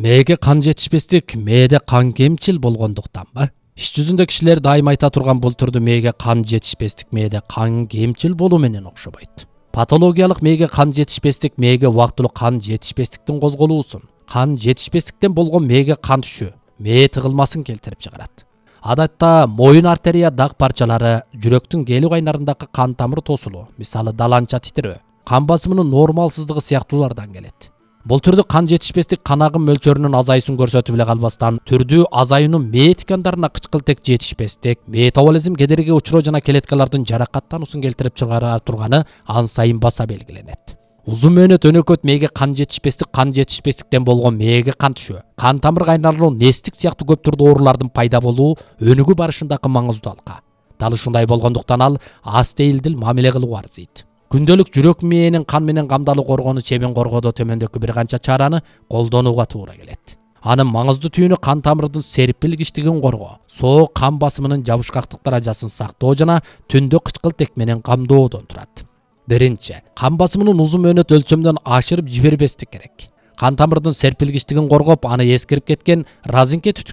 Мээге кан жетишпестик мээде кан кемчил болгондуктанбы? Иш жүзүндө кишилер дайым айта турган бул түрдүү мээге кан жетишпестик мээде кан кемчил болуу менен окшобойт. Патологиялык мээге кан жетишпестик мээге убактылуу кан жетишпестиктин козголуусун, кан жетишпестиктен болгон мээге кан түшүү, мээ тыгылмасын келтирип чыгарат. Адатта моюн артерия дак парчалары, жүрөктүн келүү кайнарындагы кан тамыр тосулуу, мисалы даланча титирөө, кан басымынын нормалсыздыгы сыяктуулардан келет. Бул түрдүү кан жетишпестик кан агым мөлчөрүнүн азайысын көрсөтүп эле калбастан, түрдүү азаюунун мээ ткандарына кычкылтек жетишпестик, метаболизм кедергиге учуроо жана клеткалардын жаракаттануусун келтирип чыгара турганы ан сайын баса белгиленет. Узун мөөнөт өнөкөт мээге кан жетишпестиктен болгон мээге кан түшүү, кан тамыр кайнарлуу нестик сыяктуу көп түрдүү оорулардын пайда болуу өнүгүү барышындагы маңыздуу алка. Дал ушундай болгондуктан ал астеилдил мамиле кылуу арзыйт. Күндөлүк жүрөк мээнин кан менен камдалуу коргону чебин коргоодо төмөндөгү бир канча чараны колдонууга туура келет. Анын маңыздуу түйүнү кан тамырдын серпилгичтигин коргоо, соок кан басымынын жабышкактык даражасын сактоо жана түндө кычкылтек менен камдоодон турат. Биринчи, кан басымынын узун мөөнөт өлчөмдөн ашырып жибербестик керек. Кан тамырдын серпилгичтигин коргоп, аны эскирип кеткен разинке